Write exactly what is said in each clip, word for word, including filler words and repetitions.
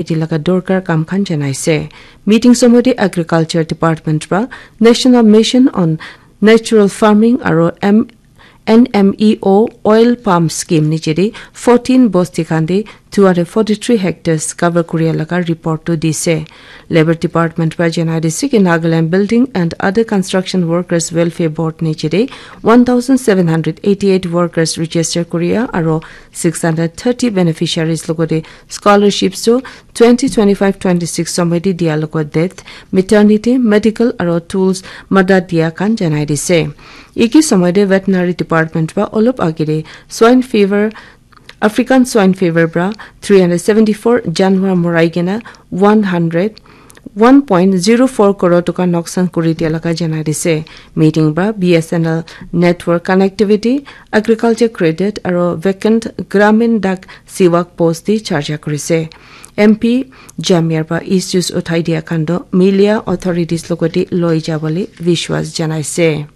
Iti laga dorkar kam khan janaise. Meeting somoi te Agriculture Department pra National Mission on Natural Farming aro M-, N M E O Oil Palm Scheme niche te fourteen bosti khan te two hundred forty-three hectares cover kuria laga report tu dise. Labour Department pra janai dise ki Nagaland Building and Other Construction Workers Welfare Board niche te one thousand seven hundred eighty-eight workers register kuria aro six hundred thirty beneficiaries logote scholarships tu twenty twenty-five twenty-six somoi te dia logo death, maternity, medical aro tools madad dia khan janai dise. Iki somoi te Veterinary Department pra olop agire swine fever, African swine fever pra three hundred seventy-four janwar morai kena one hundred one point zero four crore toka noksan kuri dia laga janai dise. Meeting pra B S N L network connectivity, agriculture credit aro vacant Gramin Dak Sewak post di charja kurise. M P Jamir pra issues uthai dia khan toh milia authorities logoti loi jabole vishwas janaise.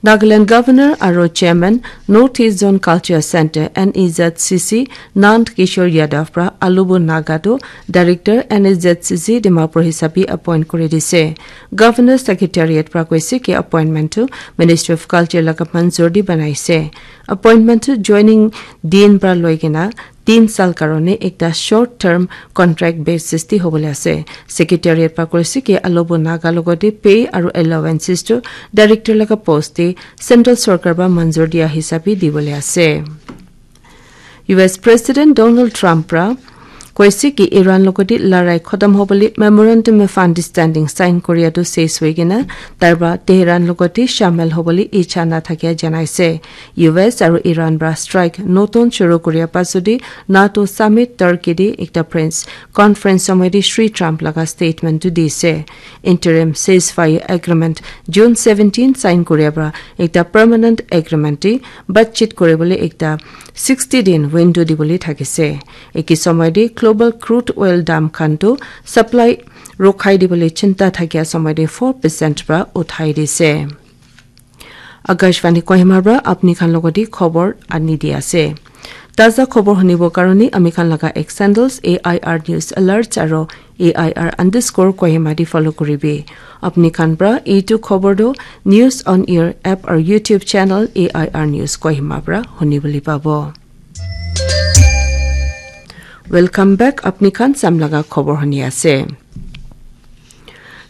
Nagaland Governor aro Chairman North East Zone Culture Centre, N E Z C C, Nand Kishore Yadav pra Alubu Naga tu Director, N E Z C C, Dimapur hisabi appoint kuri dise. Governor Secretariat pra koise ki appointment tu Ministry of Culture laga manzur di banaise. Appointment tu joining din pra loi kena tin sal karone ekta short term contract basis te hobole ase. Secretariat pra koise ki Alubu Naga logote pay aru allowances tu director laga post te central sorkar pra manzur dia hisabe dibole ase. U S President Donald Trump pra koise ki Iran logote larai khotom hobole memorandum of understanding sign koria tu ses hoi kena tai pra Tehran logote shamil hobole icha na thakia janaise. U S aru Iran pra strike notun shuru kuria pasudi NATO summit Turkey di ekta press conference somoi di Shri Trump laga statement tu dise. Interim ceasefire agreement June seventeen sign kuria pra ekta permanent agreement di batchit kuribole ekta sixty din window dibole thakise. Eki somoi di global crude oil dam khan tu supply rokhai dibole chinta thakia somoi di four percent pra uthai dise. Akashvani Kohima pra apni khan logoti khobor ani di ase. Taza khobor hunibo karone ami khan laga X handles A I R News Alerts aro A I R underscore Kohima di follow kuribi. Apni khan pra itu khobor do News on Air app or YouTube channel A I R News Kohima pra hunibole pabo. Welcome back. Apni khan samlaga khobor huni ase.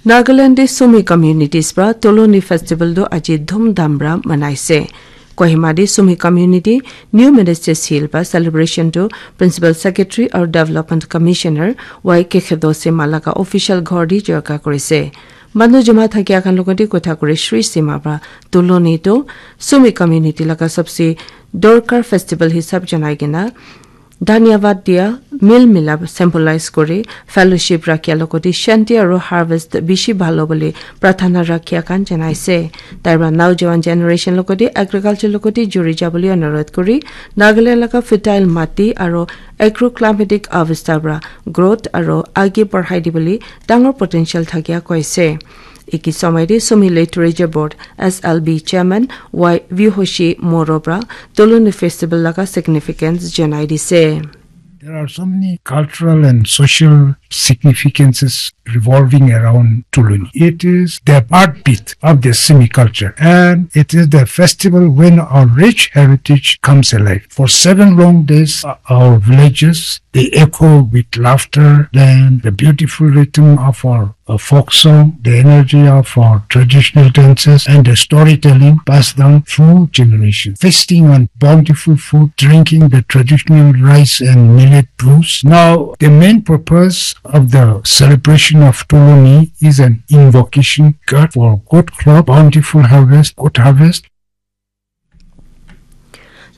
Nagaland de Sumi communities pra Toloni festival do aji dhum dham pra manaise. Kohima de Sumi community New Ministers Hill pra celebration do Principal Secretary or Development Commissioner Y K Khedo Sema laga official ghor di jorka kurise. Manu jama thakia khan logoti kotha kuri Shri Sema pra Toloni do Sumi community laga sabse dorkar festival hisab janai kena dhanyavad dia, mil milap symbolize kuri fellowship rakhia logoti shanti aru harvest bishi bhalo bole prarthana rakhia khan janaise. Tai pra naujawan generation logoti agriculture logoti juri jabole anurodh kuri Nagaland laga fertile mati aru agroclimatic avastha pra growth aru age barhai dibole dangor potential thakia koise. Eki somoi de Sumi Literature Board S L B Chairman Y Vihoshi Moro pra Toloni Festival laga significance janai dise. There are so many cultural and social significances revolving around Tuluni. It is the heartbeat of the Sumi culture, and it is the festival when our rich heritage comes alive. For seven long days, uh, our villages, they echo with laughter and the beautiful rhythm of our a folk song, the energy of our traditional dances, and the storytelling passed down through generations. Feasting on bountiful food, drinking the traditional rice and millet brews. Now, the main purpose of the celebration of Tuluni is an invocation God for good crop, bountiful harvest, good harvest,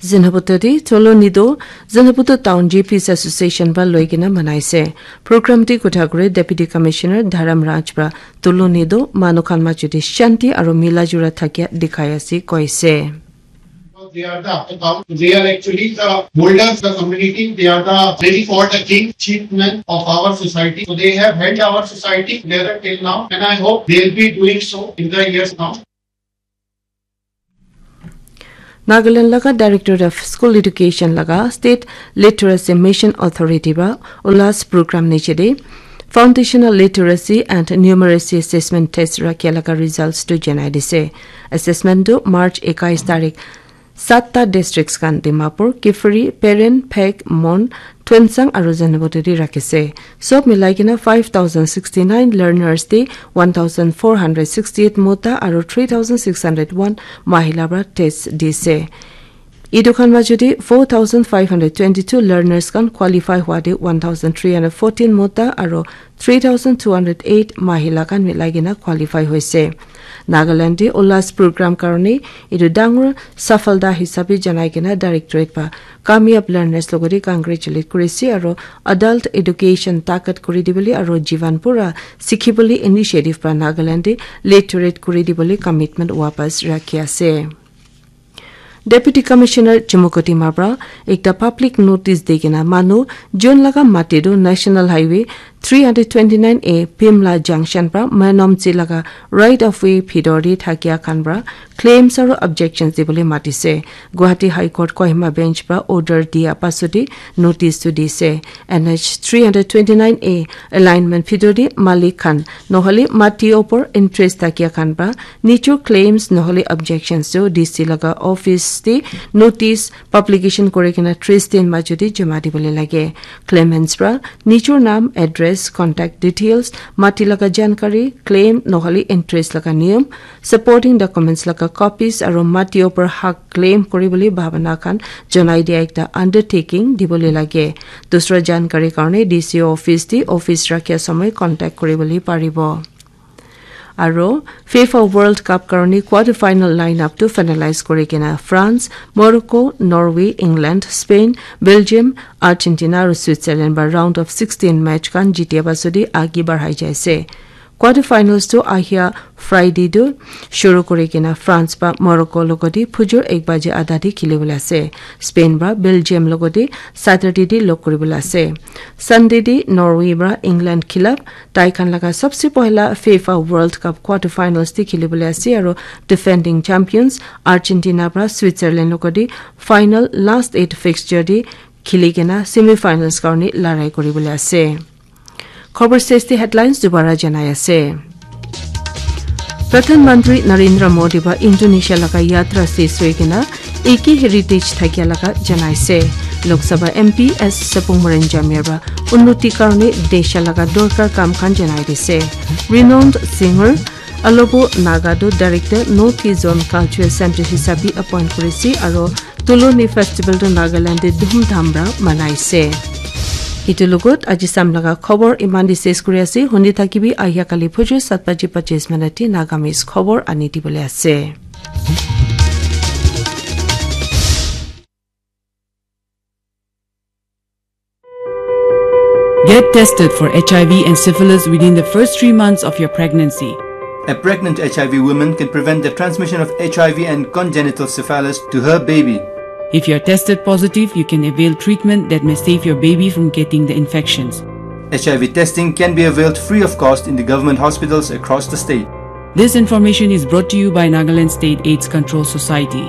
Zinaputo de Toloni do Zinaputo Town G Ps Association ba loikena manaise. Program de kotha kure Deputy Commissioner Dharam Raj pra Toloni do manu khan majo de shanti aru mila jula thakia dikhai ase koise. They are the account. They are actually the holders of the community. They are the very called the king, chief men of our society. So they have held our society together till now, and I hope they'll be doing so in the years now. Nagaland laga Directorate of School Education laga State Literacy Mission Authority ba ulas program niche de Foundational Literacy and Numeracy Assessment Test rakhe laga results tu janai dise. Assessment tu March ekais tarik satta districts kan Dimapur, Kiphire, Peren, Phek, Mon, Tuensang aru Zunheboto te rakhi ase. Sob milai kena five thousand sixty nine learners te one thousand four hundred sixty eight mota aru three thousand six hundred one mahila para test dise. Etu khan majot te four thousand five hundred twenty two learners khan qualify hua te one thousand three hundred fourteen mota aru three thousand two hundred eight mahila khan milai kena qualify hoise. Nagaland te ulas program karone etu dangor safalta hisabe janai kena directorate ba kamyab learners logote congratulate kuri ase aru adult education takat kuri dibole aru jivan pura sikhibole initiative ba Nagaland te literate kuri dibole commitment wapas rakhi ase. Deputy Commissioner Chumukodima para ekta public notice di kena manu jun laga mati tu National Highway three hundred twenty nine A Pimla Junction para Menomchi laga right of way bhitor te thakia khan para claims aru objections dibole matise. Guwahati High Court Kohima Bench para order dia pasode notice tu dise. N H three hundred twenty nine A alignment bhitor te malik khan nohole mati opor interest thakia khan para nijor claims nohole objections tu D C laga office te notice publication kuri kena tris din majot te joma dibole lage. Claimants para nijor naam, address, contact details, mati laga jankari, claim nohole interest laga niyam, supporting documents laga copies aru mati opor hak claim kuri bole bhabana khan janai dia ekta undertaking dibole lage. Dusra jankari karone D C office te office rakhia samay contact kuri bole paribo. Aro FIFA World Cup karone quarter final lineup tu finalize kuri kena France, Morocco, Norway, England, Spain, Belgium, Argentina aro Switzerland ba round of sixteen match khan jitia pasode agi barhai jaise. Quarter finals tu ahia Friday tu shuru kuri kena France ba Morocco logodi phujur ek baje adha te khilibole ase. Spain ba Belgium logodi Saturday te log kuribole ase. Sunday te Norway ba England khilap tai khan laga sabse pohila FIFA World Cup quarter finals te khilibole ase aro defending champions Argentina para Switzerland logodi final last eight fixture te khili kena semi finals karone larai kuribole ase. Khobor stage te headlines dubara janai ase. Pradhan Mantri Narendra Modi ba Indonesia laga yatra ses hoi kena eki heritage thakia laga janaise. Lok Sabha M P S Sapung Maren Jamir ba unnoti karone desha laga dorkar kam khan janai dise. Renowned singer Alobo Naga tu director North East Zone Cultural Center hisabi appoint kurise aro Tuloni festival tu Nagaland te dhumdham para manaise. Itu logot aji sam laga khobor iman te ses kuri ase. Hundi thakibi ahia kali phujur sat baji pachis minute te Nagamese khobor ani dibole ase. Get tested for H I V and syphilis within the first three months of your pregnancy. A pregnant H I V woman can prevent the transmission of H I V and congenital syphilis to her baby. If you're tested positive, you can avail treatment that may save your baby from getting the infections. H I V testing can be availed free of cost in the government hospitals across the state. This information is brought to you by Nagaland State AIDS Control Society.